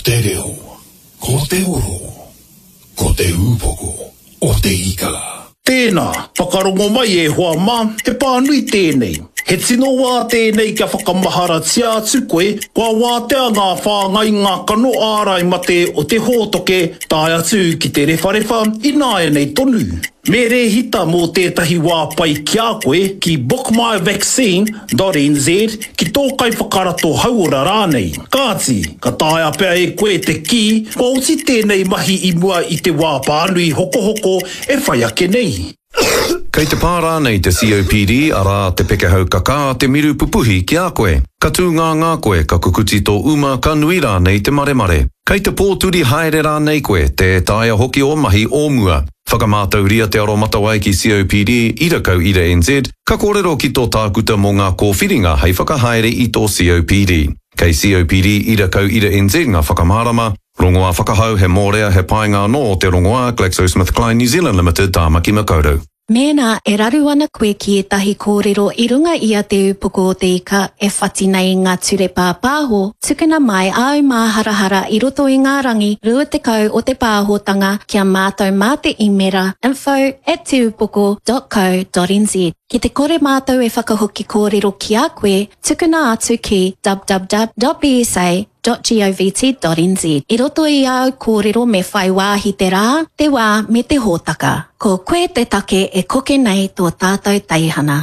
te reo, ko te oro, ko te ūpoko o te ika. Tēnā, whakarongo mai e hoa mā, he pānui tēnei. He tino wā tēnei kia whakamaharatia atu koe, kua wātea ngā whāngainga kano ārai mate o te hōtoke tae atu ki te rewharewha ināianei tonu. Me rēhita mō tētahi wā pai ki a koe ki bookmyvaccine.nz ki tō kaiwhakarato hauora rānei. Kāti, ka taea pea e koe te kī kua oti tēnei mahi i mua i te wā pānui hokohoko e whai ake nei. Kei te pā rānei te COPD, arā, te pekehau kakā, te miru pupuhi ki a koe? Ka tūngāngā koe, ka kukuti tō uma, ka nui rānei te maremare? Kei te pōturi haere rānei koe, tē taea hoki ō mahi o mua? Whakamātauria te aromatawai ki COPD, ira kau ira NZ, ka kōrero ki tō tākuta mō ngā kōwhiringa hei whakahaere i tō COPD. Kei COPD ira kau ira NZ ngā whakamārama, Rongoā whakahau, he mōrea, he painga anō o te rongoā, GlaxoSmithKline New Zealand Limited, Tāmaki Makaurau. Mēnā e raru ana koe ki ētahi kōrero i runga i a Te Ūpoko o Te Ika e whati nei i ngā ture pāpāho, tukuna mai āu māharahara i roto i ngā rangi 20 o te pāhotanga ki a mātou mā te īmera info at teupoko dot co dot nz. Ki te kore mātou e whakahoki kōrero ki a koe, tukuna atu ki www.bsa. Govt.nz. I roto i āu kōrero me whai wāhi te rā, te wā me te hōtaka. Ko koe te take e koke nei tō tātou teihana.